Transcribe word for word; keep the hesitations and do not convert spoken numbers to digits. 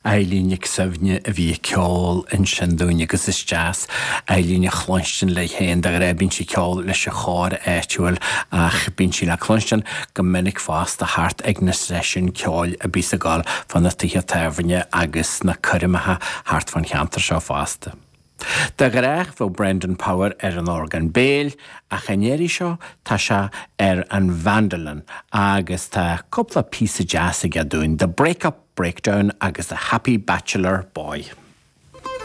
Eilín Nic Suibhne a bhí ag ceol ansin dúinn agus is deas Eilín a chluinstin léi féin de ghnáth bíonn sí ag ceol leis an chór áitiúil ach bíonn sí le cluinstin go minic fosta thart ag na seisiúin ceoil a bhíos ag gabháil fá na tithe tábhairne agus na coirmeacha thart fán cheantar seo fosta. De ghnáth bheadh Brendan Power ar an orgán béil ach an iarraidh seo tá sé ar an mandolin agus tá cúpla píosa deas aige dúinn, The Breakup Breakdown agus The Happy Bachelor Boy.